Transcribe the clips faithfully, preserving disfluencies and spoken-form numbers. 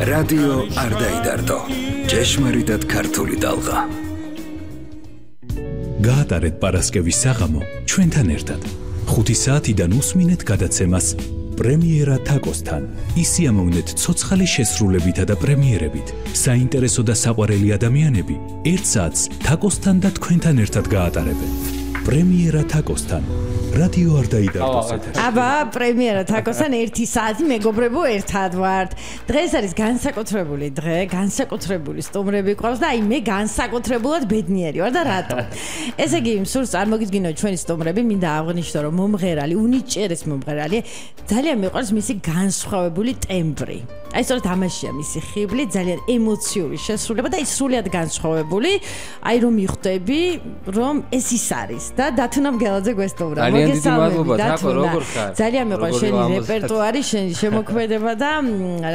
რადიო არ დაიდარდო. ჭეშმარიტად ქართული ტალღა. გაატარეთ პარასკევის საღამო ჩვენთან ერთად. ხუთი საათიდან უსმინეთ გადაცემას პრემიერა თაკოსთან. ისიამოვნეთ ცოცხალი შესრულებითა და პრემიერებით. საინტერესო და საყვარელი ადამიანები ერთ საათს თაკოსთან და თქვენთან ერთად გაატარებენ. პრემიერა თაკოსთან. რადიო არ დაიდარდოს ეთერში. აბა, პრემიერა თაკოსთან ერთი საათი მეგობრებო ერთად ვართ. დღეს არის განსაკუთრებული დღე, განსაკუთრებული სტუმრები გვყავს და აი მე განსაკუთრებულად ბედნიერი ვარ და რატო? ესე იგი, სურს წარმოგიდგინოთ ჩვენი სტუმრები, მინდა აღვნიშნო, რომ მომღერალი, უნიჭიერეს მომღერალი, ძალიან მიყვარს მისი განსხვავებული ტემბრი. აი სწორედ ამაშია მისი ხიბლი, ძალიან ემოციური შესრულება და ის სრულიად განსხვავებული. აი რომ მიხვდები, რომ ეს ის არის და დათუნა მგელაძე გვესტუმრა. ძალიან დიდი მადლობა, თაკო, როგორ ხარ? ძალიან მიყვარს შენი რეპერტუარი, შენი შემოქმედება და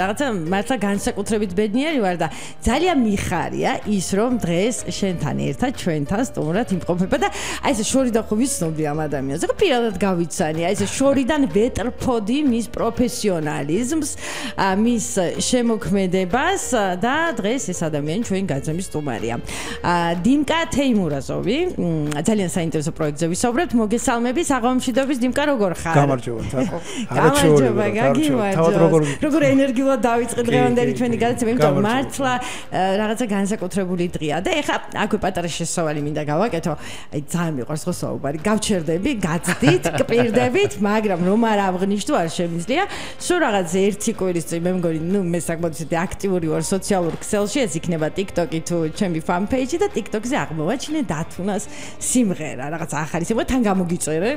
რაღაცა მართლა განსაკუთრებით ბედნიერი ვარ და ძალიან მიხარია ის, რომ დღეს შენთან ერთად ჩვენთან სტუმრად იმყოფება და აი ეს შორიდან ხო ვიცნობდი ამ ადამიანს. ეხლა პირადად გავიცანი, აი ეს შორიდან ვეტრფოდი მის პროფესიონალიზმს, მის შემოქმედებას და დღეს ეს ადამიანი ჩვენი გაცემის სტუმარია. დიმკა თეიმურაზოვი, ძალიან საინტერესო პროექტზე ვისაუბრებთ. მოგესალმები, საღამომშვიდობის დიმკა, როგორ ხარ? გამარჯობა, თაკო. გამარჯობა, გაგიმარჯობა. როგორ ენერგიულად დავიწყე დღევანდელი ჩვენი გადაცემა, იმიტომ რომ მართლა რაღაცა განსაკუთრებული დღეა და ეხლა აქვე პატარა შესავალი მინდა გავაკეთო. აი ძალიან მიყვარს ხო საუბარი. გავჩერდები, გაცდით, კპირდებით, მაგრამ რომ არ აღვნიშნო არ შემიძლია. სულ რაღაც ერთი კვირის წინ მე მგონი ნუ მე საკმაოდ ისეთი აქტიური ვარ სოციალურ ქსელში, ეს იქნება TikTok-ი თუ ჩემი fan page-ი და TikTok-ზე აღმოვაჩინე დათუნას სიმღერა, რაღაც ახალი სიმღერა, თან გამოგიწერე.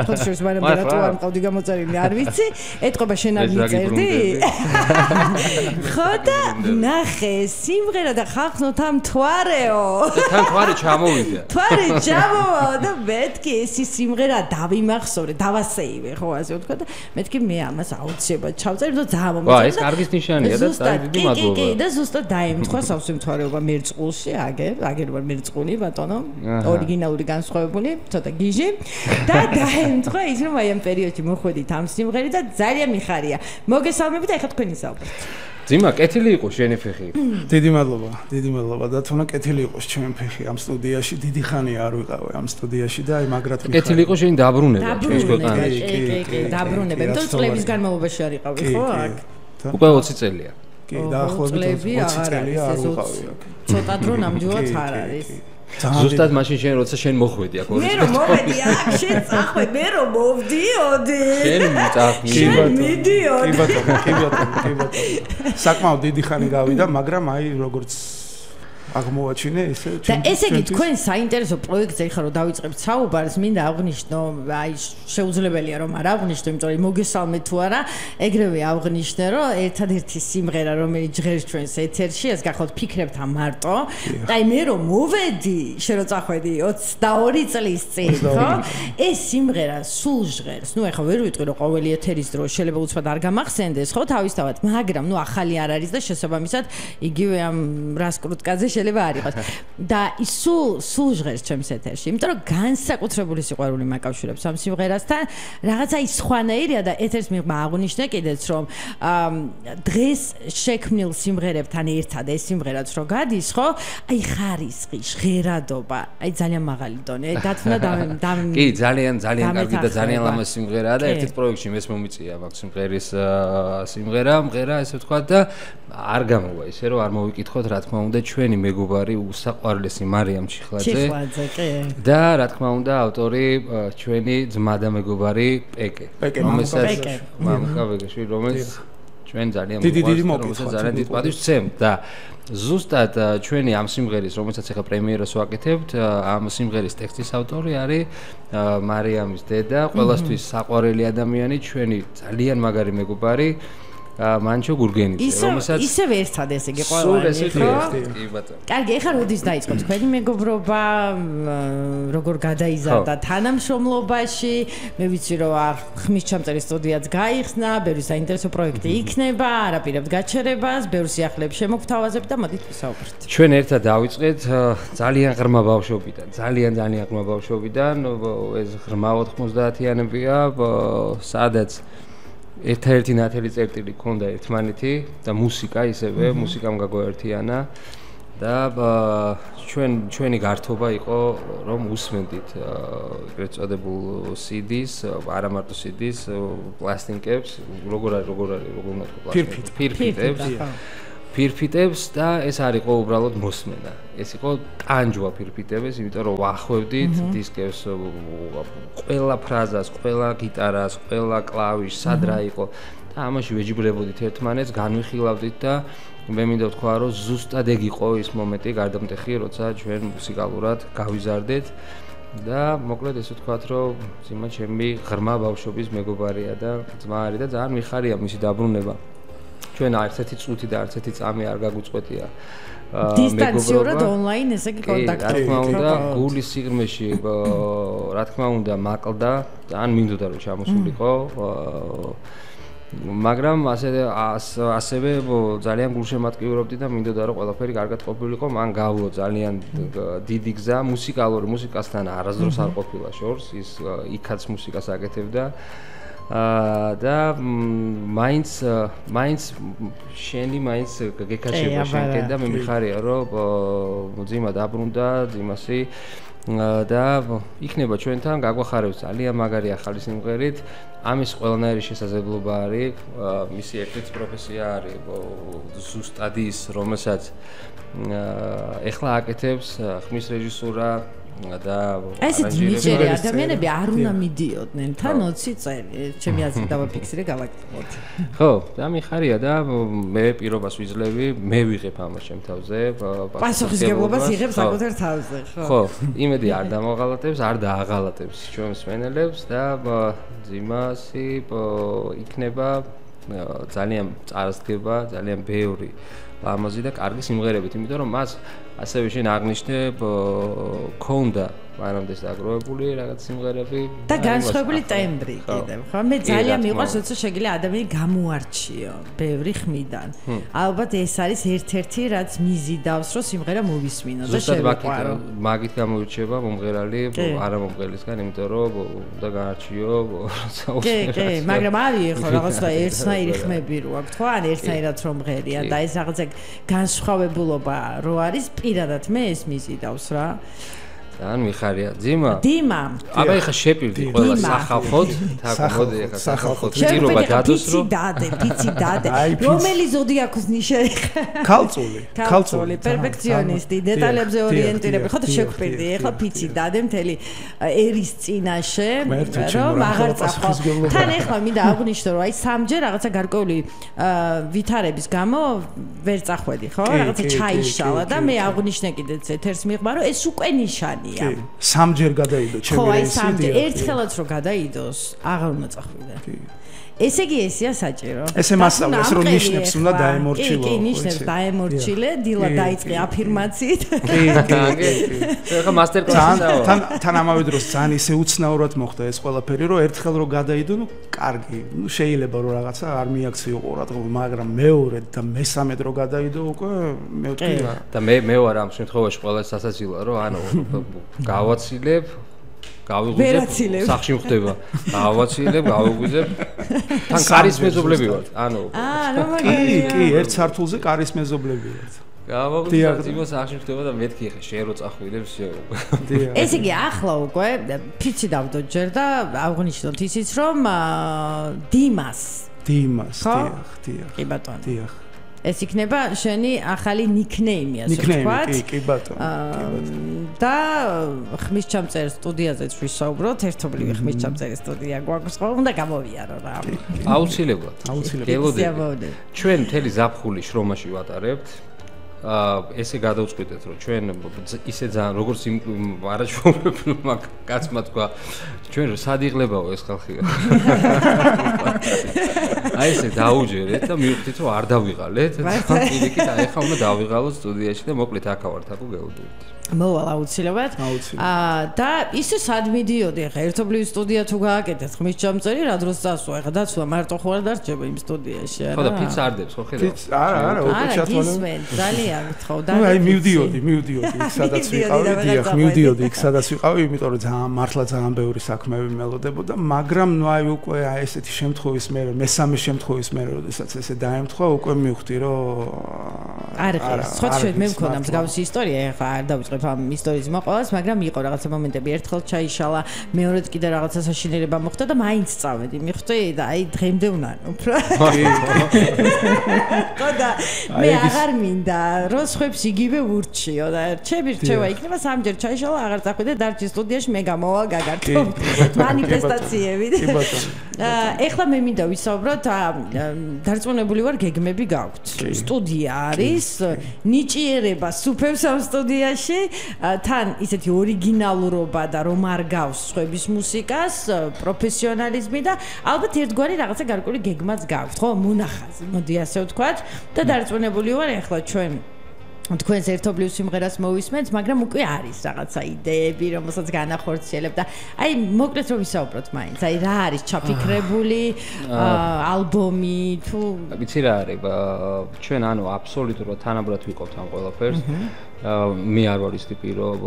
ხოთი შორის მაგრამ რატო არ მყავდი გამოწერილი, არ ვიცი. ეთყობა შენ არ მიწერდი? ხო და ნახე სიმღერა და ხალხო თან მთვარეო. თან მთვარე ჩამოვიდა. მთვარე ჩამოვა და მეთქი ეს სიმღერა დავიმახსოვრე, დავასეივე, ხო ასე ვთქვა და მეთქი მე ამას აუცილებლად ჩავწერე და ძალიან მომწონდა. კარგის ნიშანია და ძალიან დიდი მადლობა. კი, კი, და ზუსტად დაემთხვა სავსე მთვარეობა მერწყულში, აგერ, აგერ ვარ მერწყული, ბატონო, ორიგინალური განსხვავებული, ცოტა გიჟი და დაემთხვა ის რომ აი ამ პერიოდში მოხვედით ამ სიმღერით და ძალიან მიხარია. მოგესალმებით, ეხლა თქვენი საუბრით. ძიმა, კეთილი იყოს შენი ფეხი. დიდი მადლობა, დიდი მადლობა და თუნა კეთილი იყოს ჩემი ფეხი ამ სტუდიაში. დიდი ხანია არ ვიყავე ამ სტუდიაში და აი მაგრად მიხარია. კეთილი იყოს შენი დაბრუნება ჩვენს ქვეყანაში. კი, კი, კი, დაბრუნება. იმიტომ რომ წლების განმავლობაში არ იყავი, ხო? აქ. უკვე ოცი წელია. კი, დაახლოებით ოცი წელია არ ვიყავი აქ. ცოტა დრო ნამდვილად არ არის. ზუსტად მაშინ შენ როცა შენ მოხვედი აქ ორი წელი. მე რომ მოვედი აქ, შენ წახვე, მე რომ მოვდიოდი. შენ წახმი. შენ მიდიოდი. კი ბატონო, კი ბატონო, კი ბატონო. საკმაოდ დიდი ხანი გავიდა, მაგრამ აი როგორც აღმოვაჩინე ესე და ესე იგი თქვენ საინტერესო პროექტზე ხარ რომ დავიწყებთ საუბარს, მინდა აღვნიშნო, აი შეუძლებელია რომ არ აღვნიშნო, იმიტომ რომ მოგესალმე თუ არა, ეგრევე აღვნიშნე რომ ერთადერთი სიმღერა რომელიც ჟღერს ჩვენს ეთერში, ეს გახოთ ფიქრებთ ამ მარტო. აი მე რომ მოვედი, შენ რო წახვედი ოცდაორი წლის წინ, ხო? ეს სიმღერა სულ ჟღერს. ნუ ეხლა ვერ ვიტყვი რომ ყოველი ეთერის დრო შეიძლება უცბად არ გამახსენდეს, ხო, თავისთავად, მაგრამ ნუ ახალი არ არის და შესაბამისად იგივე ამ რასკრუტკაძე შეიძლება არ იყოს. და ის სულ სულ ჟღერს ჩემს ეთერში, იმიტომ რომ განსაკუთრებული სიყვარული მაკავშირებს ამ სიმღერასთან. რაღაცა ის სხვანაირია და ეთერს მიღმა აღვნიშნე კიდეც რომ დღეს შექმნილ სიმღერებთან ერთად ეს სიმღერაც რო გადის, ხო? აი ხარისხი, ჟღერადობა, აი ძალიან მაღალი დონე. დათუნა და კი, ძალიან ძალიან კარგი და ძალიან ლამაზ სიმღერაა და ერთ-ერთ პროექტში მეც მომიწია მაგ სიმღერის სიმღერა, მღერა ესე ვთქვა და არ გამოვა ისე რომ არ მოვიკითხოთ რა თქმა უნდა ჩვენი მეგობარი უსაყვარლესი მარიამ ჩიხლაძე. ჩიხლაძე, კი. და რა თქმა უნდა ავტორი ჩვენი ძმა და მეგობარი პეკე. რომელსაც მამკა ვეგეში, რომელიც ჩვენ ძალიან მოყვარს, ძალიან დიდ პატივს ვცემთ და ზუსტად ჩვენი ამ სიმღერის, რომელსაც ახლა პრემიერას ვაკეთებთ, ამ სიმღერის ტექსტის ავტორი არის მარიამის დედა, ყველასთვის საყვარელი ადამიანი, ჩვენი ძალიან მაგარი მეგობარი. მანჩო გურგენიძე, რომელსაც ისევ ერთად ესე იგი ყველანი, ხო? კი ბატონო. კარგი, ეხლა როდის დაიწყო თქვენი მეგობრობა, როგორ გადაიზარდა თანამშრომლობაში? მე ვიცი რომ ხმის ჩამწერი სტუდიაც გაიხსნა, ბევრი საინტერესო პროექტი იქნება, არაპირებთ გაჩერებას, ბევრ სიახლეებს შემოგთავაზებთ და მოდით ვისაუბროთ. ჩვენ ერთად დავიწყეთ ძალიან ღრმა ბავშვობიდან, ძალიან ძალიან ღრმა ბავშვობიდან, ეს ღრმა ოთხმოცდაათიანებია, სადაც ერთადერთი ნათელი წერტილი ქონდა ერთმანეთი და მუსიკა ისევე, მუსიკამ გაგვაერთიანა და ჩვენ ჩვენი გართობა იყო რომ უსმენდით ეგრეთ წოდებულ სი დის, არა მარტო სი დის, პლასტინკებს, როგორ არის, როგორ არის, როგორ უნდა თქვა პლასტინკებს, ფირფიტებს. ფირფიტებს და ეს არ იყო უბრალოდ მოსმენა. ეს იყო ტანჯვა ფირფიტების, იმიტომ რომ ვახვევდით დისკებს ყველა ფრაზას, ყველა გიტარას, ყველა კლავიშს, სად რა იყო და ამაში ვეჯიბრებოდით ერთმანეთს, განვიხილავდით და მე მინდა ვთქვა, რომ ზუსტად ეგ იყო ის მომენტი გარდამტეხი, როცა ჩვენ მუსიკალურად გავიზარდეთ და მოკლედ ესე ვთქვათ, რომ ძიმა ჩემი ღრმა ბავშვობის მეგობარია და ძმა არის და ძალიან მიხარია მისი დაბრუნება. ჩვენ არც ერთი წუთი და არც ერთი წამი არ გაგვიწყვეტია დისტანციურად ონლაინ ესე კი კონტაქტი. რა თქმა უნდა, გულის სიღრმეში რა თქმა უნდა მაკლდა, ძალიან მინდოდა რომ ჩამოსულიყო. მაგრამ ასე ასევე ძალიან გულშემატკივრობდი და მინდოდა რომ ყველაფერი კარგად ყოფილიყო. მან გავლო ძალიან დიდი გზა მუსიკალური მუსიკასთან არასდროს არ ყოფილა შორს, ის იქაც მუსიკას აკეთებდა. და მაინც მაინც შენი მაინც გეკაჩება შენკენ და მე მიხარია რომ ძიმა დაბრუნდა ძიმასი და იქნება ჩვენთან გაგვახარებს ძალიან მაგარი ახალი სიმღერით ამის ყველანაირი შესაძლებლობა არის მისი ერთ-ერთი პროფესია არის ზუსტად ის რომელსაც ეხლა აკეთებს ხმის რეჟისურა და ესეთი ნიჭიერი ადამიანები არ უნდა მიდიოდნენ თან ოცი წელი ჩემი აზრით დავაფიქსირე გავაკეთოთ ხო და მიხარია და მე პირობას ვიძლევი მე ვიღებ ამას ჩემ თავზე პასუხისგებლობას იღებ საკუთარ თავზე ხო ხო იმედი არ დამაღალატებს არ დააღალატებს ჩვენს მენელებს და ძიმასი იქნება ძალიან წარსდგება ძალიან ბევრი ლამაზი და კარგი სიმღერებით იმიტომ რომ მას ასევე შენ აღნიშნე ქონდა მანამდეც დაგროვებული რაღაც სიმღერები და განსხვავებული ტემბრი კიდევ ხო მე ძალიან მიყვარს როცა შეგიძლია ადამიანი გამოარჩიო ბევრი ხმიდან ალბათ ეს არის ერთ-ერთი რაც მიზიდავს რომ სიმღერა მოვისმინო და შევიყვარო მაგით გამოირჩევა მომღერალი არა მომღერლისგან იმიტომ რომ უნდა გაარჩიო როცა კი კი მაგრამ არის ხო რაღაცა ერთნაირი ხმები რო აქვს ხო ან ერთნაირად რომ მღერია და ეს რაღაცა განსხვავებულობა რო არის პირადად მე ეს მიზიდავს რა ძალიან მიხარია ძიმა დიმა აბა ეხა შეპირდი ყველა სახალხოდ თაკო მოდი ეხა სახალხოდ პირობა დადოს რომ პიცი დადე პიცი დადე რომელი ზოდიაქოს ნიშა ეხა ქალწული ქალწული პერფექციონისტი დეტალებზე ორიენტირებული ხო და შეგვპირდი ეხა პიცი დადე მთელი ერის წინაშე რომ აღარ წახო თან ეხლა მინდა აღვნიშნო რომ აი სამჯერ რაღაცა გარკვეული ვითარების გამო ვერ წახვედი ხო რაღაცა ჩაიშალა და მე აღვნიშნე კიდეც ეთერს მიღმა რომ ეს უკვე ნიშანი სამჯერ გადაიდო ჩემი რეისი. ხო, აი სამჯერ ერთხელაც რო გადაიდოს, აღარ უნდა წახვიდე. ესე იგი ესია საჭირო. ესე მასწავლეს რომ ნიშნებს უნდა დაემორჩილო. კი, კი, ნიშნებს დაემორჩილე, დილა დაიწყე აფირმაციით. კი, კი. ეხა მასტერკლასი თან თან ამავე დროს ძალიან ისე უცნაურად მოხდა ეს ყველაფერი, რომ ერთხელ რო გადაიდო, ნუ კარგი, ნუ შეიძლება რომ რაღაცა არ მიაქციო ყურადღება, მაგრამ მეორედ და მესამედ რო გადაიდო უკვე მე ვთქვი რა. და მე მე ვარ ამ შემთხვევაში ყველა სასაცილოა, რომ ანუ გავაცილებ გავიღვიძებ სახში ხდება გავაცილებ გავიღვიძებ თან კარის მეზობლები ვართ ანუ აა რა კი კი ერთ სართულზე კარის მეზობლები ვართ გავიღვიძებ ძიმო სახში ხდება და მეთქი ხე შენ რო წახვიდებ შენ ესე იგი ახლა უკვე ფიცი დავდო ჯერ და აღნიშნოთ ისიც რომ დიმას დიმას დიახ დიახ კი ბატონო დიახ ეს იქნება შენი ახალი ნიკნეიმი ასე ვთქვათ. ნიკნეიმი, კი, კი ბატონო. და ხმის ჩამწერ სტუდიაზეც ვისაუბროთ, ერთობლივი ხმის ჩამწერი სტუდია გვაქვს ხო, უნდა გამოვიარო რა. აუცილებლად. აუცილებლად. ჩვენ მთელი ზაფხული შრომაში ვატარებთ. აა ესე გადავწყვიტეთ რომ ჩვენ ისე ძალიან როგორც არაჩვეულებრივმა კაცმა თქვა ჩვენ სად იღლებაო ეს ხალხი აი ესე დაუჯერეთ და მივხვდით რომ არ დავიღალეთ და პირიქით აი ხა უნდა დავიღალოთ სტუდიაში და მოკლედ აქა ვართ აკუ გეუბნებით მოვალ აუცილებლად. აა და ისე სად მიდიოდი ახლა ერთობლივი სტუდია თუ გააკეთეთ ხმის ჩამწერი რა დროს წასვა ახლა დაცვა მარტო ხო არ დარჩება იმ სტუდიაში არა? ხო და ფიც არდებს ხო ხედავ? ფიც არა არა უკვე ჩათვალე. ძალიან გთხოვ და აი მივდიოდი მივდიოდი იქ სადაც ვიყავი დიახ მივდიოდი იქ სადაც ვიყავი იმიტომ რომ ძალიან მართლა ძალიან ბევრი საქმეები მელოდებოდა მაგრამ ნუ აი უკვე აი ესეთი შემთხვევის მერე მესამე შემთხვევის მერე როდესაც ესე დაემთხვა უკვე მივხვდი რომ არა ხო შეიძლება მე მქონდა მსგავსი ისტორია ახლა არ დავიწყებ ამ ისტორიის მოყოლას, მაგრამ იყო რაღაცა მომენტები, ერთხელ ჩაიშალა, მეორედ კიდე რაღაცა საშინელება მოხდა და მაინც წავედი. მიხვდი და აი დღემდე უნარ უფრო. ხო და მე აღარ მინდა, რომ სხვებს იგივე ურჩიო და ჩემი რჩევა იქნება სამჯერ ჩაიშალა, აღარ წახვიდე დარჩი სტუდიაში, მე გამოვალ გაგართო მანიფესტაციები. ეხლა მე მინდა ვისაუბროთ, დარწმუნებული ვარ გეგმები გაქვთ. სტუდია არის, ნიჭიერება სუფევს ამ სტუდიაში. თან ისეთი ორიგინალურობა და რომ არ გავს სხვების მუსიკას, პროფესიონალიზმი და ალბათ ერთგვარი რაღაცა გარკვეული გეგმაც გაქვთ, ხო? მუნახაზი, მოდი ასე ვთქვათ და დარწმუნებული ვარ ახლა ჩვენ თქვენს ერთობლივ სიმღერას მოვისმენთ, მაგრამ უკვე არის რაღაცა იდეები, რომელსაც განახორციელებ და აი მოკლედ რომ ვისაუბროთ მაინც, აი რა არის ჩაფიქრებული ალბომი თუ ვიცი რა არის, ჩვენ ანუ აბსოლუტურად თანაბრად ვიყავთ ამ ყველაფერს. მე არ ვარ ის ტიპი რომ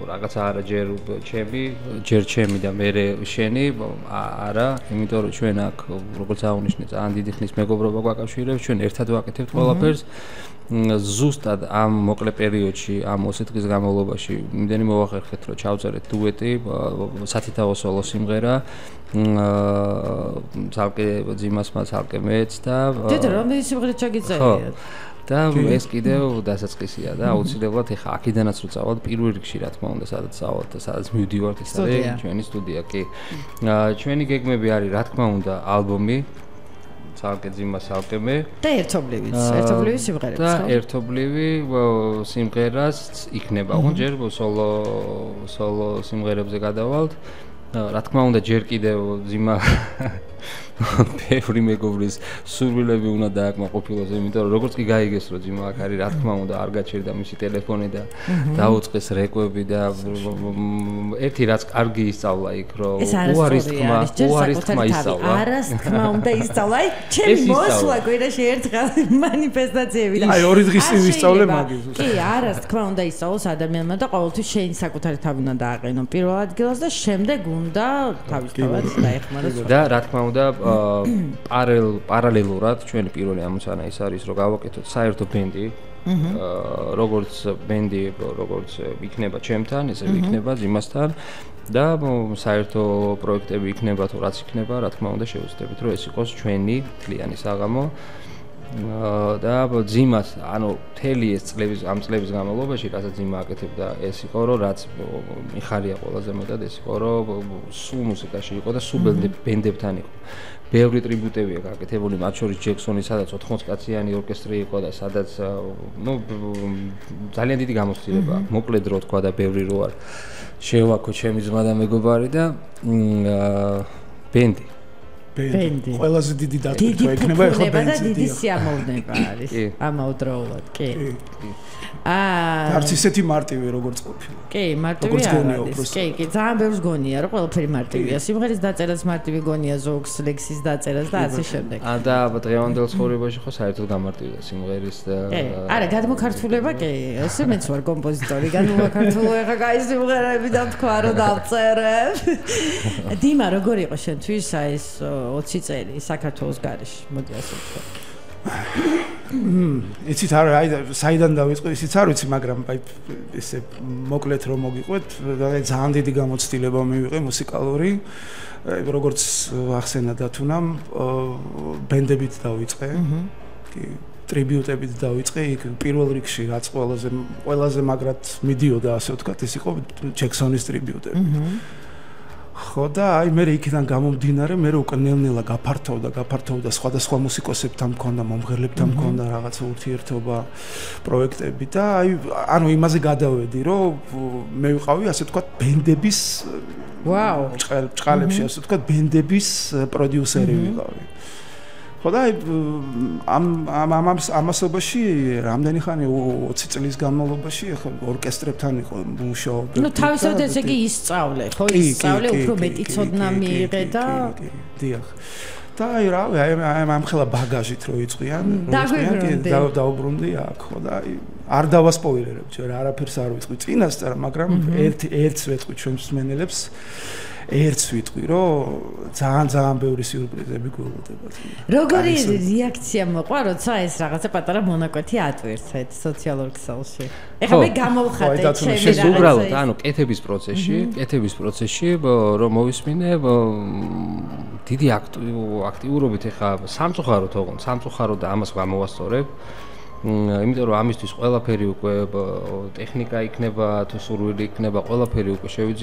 რაღაცა არა ჯერ ჩემი, ჯერ ჩემი და მე შენი, არა, იმიტომ რომ ჩვენ აქ როგორც აღნიშნე ძალიან დიდი ხნის მეგობრობა გვაკავშირებს, ჩვენ ერთად ვაკეთებთ ყველაფერს. ზუსტად ამ მოკლე პერიოდში, ამ ოცი დღის განმავლობაში იმდენი მოვახერხეთ, რომ ჩავწერეთ დუეტი, სათითაო სოლო სიმღერა. აა ცალკე ძიმასმა, ცალკე მეც და დედა რამდენი სიმღერა ჩაგიწერია? და ეს კიდევ დასაწყისია და აუცილებლად ეხა აქედანაც რო წავალ პირველ რიგში რა თქმა უნდა სადაც წავალ და სადაც მივდივართ ეს არის ჩვენი სტუდია კი ჩვენი გეგმები არის რა თქმა უნდა ალბომი ცალკე ძიმა ცალკე მე და ერთობლივიც ერთობლივი სიმღერაც და ერთობლივი სიმღერას იქნება ხო ჯერ სოლო სოლო სიმღერებზე გადავალთ რა თქმა უნდა ჯერ კიდევ ძიმა ბევრი მეგობრის სურვილები უნდა დააკმაყოფილოს, იმიტომ რომ როგორც კი გაიგეს რომ ძიმა აქ არის, რა თქმა უნდა არ გაჩერდა მისი ტელეფონი და დაუწყეს რეკვები და ერთი რაც კარგი ისწავლა იქ რომ უარის თქმა, უარის თქმა ისწავლა. არას თქმა უნდა ისწავლა. აი, ჩემი მოსვლა კვირაში ერთხელ მანიფესტაციები და აი ორი დღის წინ ვისწავლე მაგის. კი, არას თქმა უნდა ისწავლოს ადამიანმა და ყოველთვის შენ საკუთარი თავი უნდა დააყენო პირველ ადგილას და შემდეგ უნდა თავისთავად დაეხმაროს. და რა თქმა უნდა პარალელ პარალელურად ჩვენი პირველი ამოცანა ის არის რომ გავაკეთოთ საერთო ბენდი როგორც ბენდი როგორც იქნება ჩემთან ესე იქნება ძიმასთან და საერთო პროექტები იქნება თუ რაც იქნება რა თქმა უნდა შევეცდებით რომ ეს იყოს ჩვენი თლიანი საღამო და ძიმას ანუ მთელი ეს წლების ამ წლების განმავლობაში რასაც ძიმა აკეთებდა ეს იყო რომ რაც მიხარია ყველაზე მეტად ეს იყო რომ სულ მუსიკაში იყო და სულ ბენდებთან იყო ბევრი ტრიბუტებია გაკეთებული მათ შორის ჯექსონი სადაც ოთხმოც კაციანი ორკესტრი იყო და სადაც ნუ ძალიან დიდი გამოცდილება მოკლედ რო თქვა და ბევრი რო არ შევაქო ჩემი ძმა და მეგობარი და ბენდი ბენდი ყველაზე დიდი დატვირთვა იქნება ახლა ბენდი და დიდი სიამოვნება არის ამავდროულად კი აა არც ისეთი მარტივი როგორც ყოფილა კი მარტივი არის კი კი ძალიან ბევრს გონია რომ ყველაფერი მარტივია სიმღერის დაწერას მარტივი გონია ზოგს ლექსის დაწერას და ასე შემდეგ აა და დღევანდელ ცხოვრებაში ხო საერთოდ გამარტივია სიმღერის და არა გადმოქართულება კი ესე მეც ვარ კომპოზიტორი გადმოქართულება ხა კაი სიმღერები და თქვა რომ დავწერებ დიმა როგორ იყო შენთვის აი ეს ოცი წელი საქართველოს გარეშე მოდი ასე ვთქვა იცით არა აი საიდან დავიწყო ისიც არ ვიცი მაგრამ აი ესე მოკლედ რომ მოგიყვეთ ძალიან დიდი გამოცდილება მივიღე მუსიკალური როგორც ახსენა დათუნამ ბენდებით დავიწყე კი ტრიბიუტებით დავიწყე იქ პირველ რიგში რაც ყველაზე ყველაზე მაგრად მიდიოდა ასე ვთქვათ ეს იყო ჯექსონის ტრიბიუტები ხო და აი მე იქიდან გამომდინარე მე უკვე ნელ-ნელა გაფართოვდა გაფართოვდა სხვადასხვა მუსიკოსებთან მქონდა მომღერლებთან მქონდა რაღაცა ურთიერთობა პროექტები და აი ანუ იმაზე გადავედი რომ მე ვიყავი ასე ვთქვათ ბენდების ვაუ ჭყალებში ასე ვთქვათ ბენდების პროდიუსერი ვიყავი ხო და ამ ამ ამ ამასობაში რამდენი ხანი ოცი წლის განმავლობაში ახლა ორკესტრებთან იყო მუშაობდი. ნუ თავისთავად ესე იგი ისწავლე, ხო ისწავლე, უფრო მეტი ცოდნა მიიღე და დიახ. და აი რა, აი ამ ხელა ბაგაჟით რო იწყიან, და დაუბრუნდი აქ, ხო და აი არ დავასპოილერებ ჯერ, არაფერს არ ვიტყვი წინასწარ, მაგრამ ერთ ერთს ვეტყვი ჩვენს მსმენელებს. ერთს ვიტყვი, რომ ძალიან ძალიან ბევრი სიურპრიზები გველოდებათ. როგორი რეაქცია მოყვა, როცა ეს რაღაცა პატარა მონაკვეთი ატვირთეთ სოციალურ ქსელში? ეხლა მე გამოვხატე ჩემი რაღაცა. უბრალოდ, ანუ კეთების პროცესში, კეთების პროცესში, რომ მოვისმინე დიდი აქტიურობით ეხლა სამწუხაროდ ოღონდ, სამწუხაროდ და ამას გამოვასწორებ. იმიტომ რომ ამისთვის ყველაფერი უკვე ტექნიკა იქნება, თუ სურვილი იქნება, ყველაფერი უკვე შევიძინე